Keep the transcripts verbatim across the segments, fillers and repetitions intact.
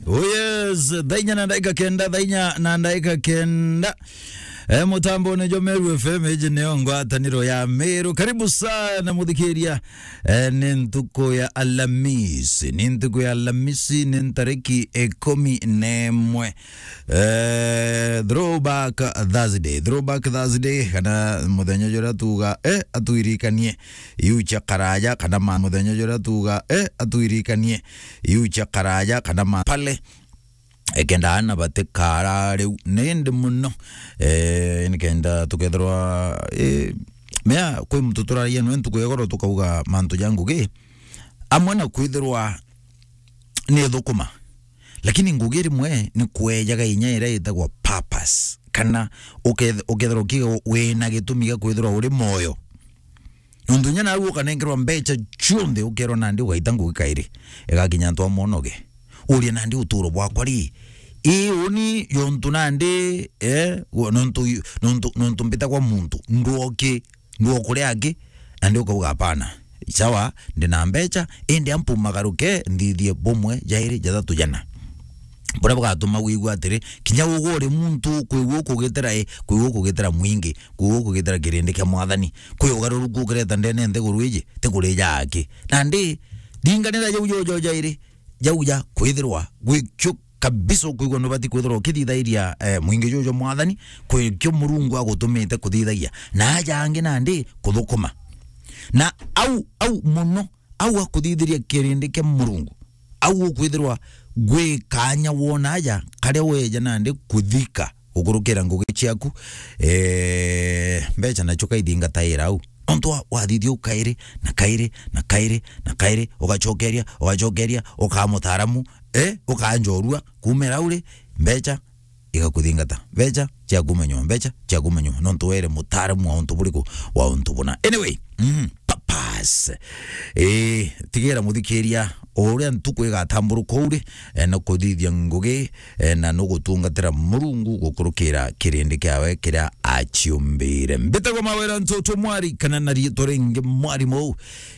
Oh yes, thaa inya na ndagika kenda, thaa inya na ndagika kenda. Eh, mutambone jwa Meru F M, iji nio ngwataniro ya Meru. Karibu sana muthikiria. Eh, ni ntuku ya Alamisi, ni ntuku ya Alamisi, ni ntariki ikumi na imwe. Eh, throwback Thursday, throwback Thursday, kana muthenya juria tuga, eh, atwirikanie iu cia karaja, kana ma muthenya juria tuga, eh, atwirikanie iu cia karaja, kana ma pale. Ekenda ana batikara riu nindi muno. Eh, nikenda tukethirwa, eh, mea kwi muntu turaria nwe ntuku ya igoro tukauga mantu ja ngugi, amwe na kwithirwa ni thukuma, lakini ngugi rimwe ni kwejaga inya iria itagwa purpose, kana uketh-, ukethirwa ukiuga wina gitumi gia kwithirwa uri moyo. Nontu inya nau ukanenkerwa mbecha cionthe, ukerwa nandi ugaita ngugi kairi, igakinya antu amwe unoge. Urie nandi uturo bwakwa ri, ii uni yontu nandi, eh, wo-, nontu, nontu, nontu mbitagwa muntu, ndwoki, ndwokuria aki, nandi ukauga, "Hapana, sawa, ndina mbecha, indi ampu magaruke nthithie bumwe, jairi, jathatu, jana." Buria bugatuma wigua atiri, kinya ugwe uri muntu, kwigua ukugitira i, kwigua ukugitira mwingi, kwigua ukugitira kirindi kia Mwathani. Kwi ugaruruku ukireta ndene nthiguru iji, ti kurija aki. Nandi, ringanira jau jojo jairi, jau ja kwithirwa gwikio kabisa, ukwigua nubati kwithirwa ukithithairia, eh, mwingi juju jwa Mwathani, kwikio Murungu agutumite kuthithagia. Na aja angi nandi kuthukuma. Na au, au muno, au akuthithiria kirindi kia Murungu, au ukwithirwa gwi kanya wona aja karia weja nandi kuthika gukurukira ngugi ciaku, eh, mbecha nacio kaithingataira au. Nontu wa-, wathithia u kairi, na kairi, na kairi, na kairi, ugacokeria, ugacokeria, ukaa mutaaramu, eh, ukaa njorua, kuumira uri, mbecha igakuthingata. Mbecha cia kumenywa, mbecha cia kumenywa. Nontu were mutaaramu wa untu buriku, wa untu buna. Anyway, mm, purpose. Eh, tigera muthikiria, o uria ntuku igatamburuka uri, eh, na kuthithia ngugi, eh, na nugutungatira Murungu gukurukira kirindi kiawe kiria aciumbire. Mbitagwa Mawira Ntoto Mwari, kana na riitwa ringi Mwarimu.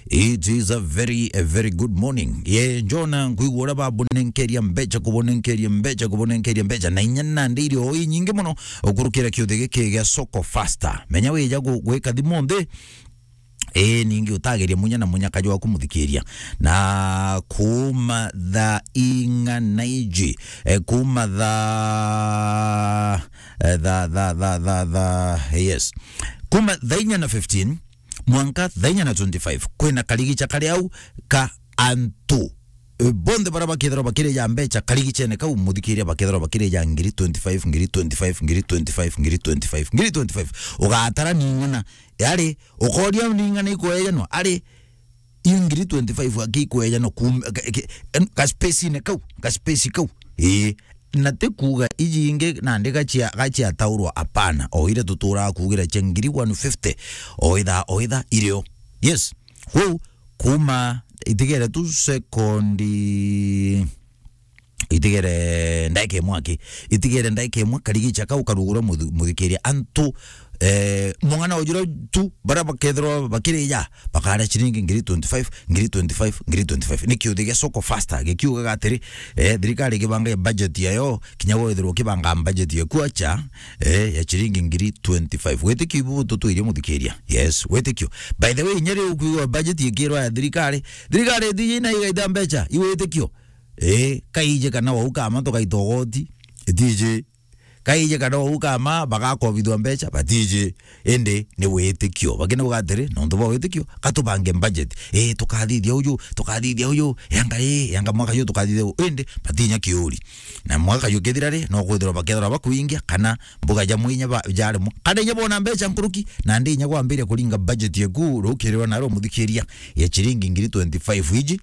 It is a very, a very good morning. Ye, Jona, nkwigua uria babunenkeria mbecha, kubunenkeria mbecha, kubunenkeria mbecha. Na inya nandi iri o inyingi muno ukurukira kiuthi giki gia Soko Faster. Menya wija gu-, gwika thimu nthi, ii, ningi utageria munya na munyaka jwaku muthikiria. Na kuuma thaa ing'ana iji, eh, kuuma thaa, eh, thaa, thaa, thaa, thaa, thaa, yes. Kuuma thaa inya na fifteen, mwanka thaa inya na twenty-five, kwina karigicha kari au ka antu, eh, bonthe baria bakethirwa bakirija mbecha karigichene kau, muthikiria, bakethirwa bakirija ngiri twenty-five, ngiri twenty-five, ngiri twenty-five, ngiri twenty-five, ngiri twenty-five. Ugatara ning'ana, ari, ukoria ning'ana ikwejanwa, ari, iyo ngiri twenty-five aki ikwejanwa kum-, ka, ka, ka space-ine kau, ka space kau. Ii. Na ti kuuga iji ingi nandi gachia-, gachiataurwa, apana. O iria tuturaa kuugira cia ngiri one fifty, o ithaa, o ithaa irio. Yes. Kwou, kuuma, itigere tu sekondi, itigere ndaika imwe aki, itigere ndaika imwe, karigicha kau karugura muthu-, muthikiria. Antu, eh, mung'ana ujura tu, baria bakethirwa bakirija, bakaria ciringi ngiri twenty-five, ngiri twenty-five, ngiri twenty-five. Ni kiuthi gia Soko Faster gikiugaga atiri, eh, thirikari ikibanga budget yayo, kinya wethirwa ukibanga budget yaku acha, eh, ya ciringi ngiri twenty-five. Witikio ibu tutwirie muthikiria. Yes, witikio. By the way, inya riu ukwigua budget ikirwa ya thirikari, thirikari itiji na igaita mbecha, i witikio. Eh, kaije kana wau kama tugaita ugoti, itiji. Kaije kana uu kama bagakobithua mbecha, batiji. Indi ni witikio. Bakina uga atiri, nontu bwa witikio, katubange budget. Ii, tukathithia uju, tukathithia uju, yanga ri, yanga mwaka yu tukathithia u-, indi batinya kiuri. Na mwaka yu kithira ri, no kwithirwa bakethirwa bakwingia, kana mbuga ja mwinya ba-, jaremwa. Kana inya bona mbecha nkuruki, nandi inya kwambiria kuringa budget yaku, rukirirwa naro muthikiria, ya chiringi ngiri twenty-five iji,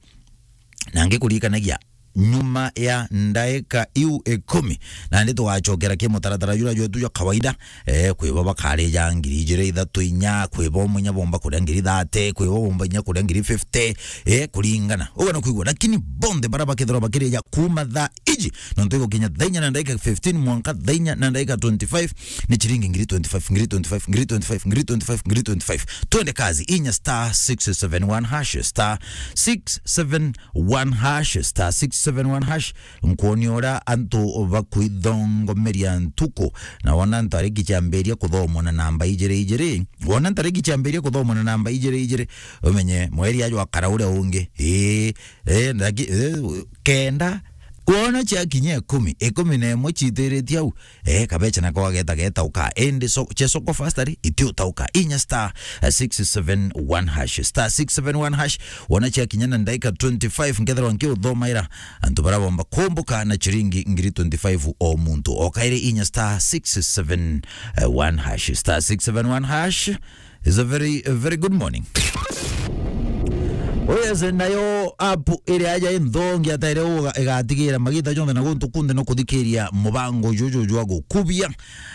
na ngikurikanagia, nyuma ya ndaika iu ikumi, nandi tugacokera ki mutaratara jura jwetu jwa kawaida. Eh, kwi bo bakarija ngiri ijiri ithatu inya, kwi bo mwinya bomba kuria ngiri thate, kwi bo bomba inya kuria ngiri fifty, eh, kuringana. Ugana kwigua, lakini bonthe bara bakethirwa bakirija kuma thaa iji Nontu igukinya thaa inya na ndagika fifteen mwanka thaa inya na ndagika twenty-five, ni chiringi ngiri twenty-five, ngiri twenty-five, ngiri twenty-five, ngiri twenty-five, ngiri twenty-five. Twende kazi, inya star six seven one hash, star six seven one hash, star six seven one hash. Nkwoni uria antu bakwithongomeria ntuku, na wona ntariki ciambiria kuthomwa na namba ijiri ijiri, wona ntariki ciambiria kuthomwa na namba ijiri ijiri, umenye mweri ajwa kara uria ungi. Ii, eh, ndaki-, eh, kenda. Wona ciakinya ikumi, ikumi na imwe ciitiritie au, eh, kabecha nako gageta getauka. Indi so-, cia soko fast ari, itiutauka. Inya star, eh, six seven one hash, star six seven one hash. Wona ciakinya na ndaika twenty-five, nkethirwa nkiuthomaira antu baria bomba kumbuka na chiringi ngiri twenty-five o muntu. O kairi inya star six seven one hash, star six seven one hash. Is a very, a very good morning. Oh yes, nayo app iria aja inthongi ataire uga igatigira magita jonthe na guntu kunthe no kuthikiria mubango juju jwa gukubia.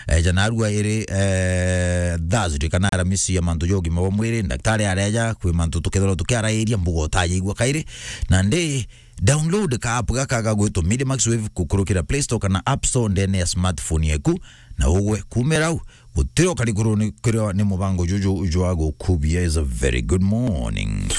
Eh, jana arua iri, eh, Thursday kana Aramisi ya mantu ja ugima bwa mwiri, ndaktari areja kwi mantu tukethirwa tukiarairia mbuga utajaigua kairi. Na ndi download ka app gaka gagwitwo Medimax Wave kukurukira Play Store kana App Store ndene ya smartphone yaku, na ugwe kumira au. Gutiri ukari kuruni-, kuria ni mubango juju jwa gukubia. Is a very good morning.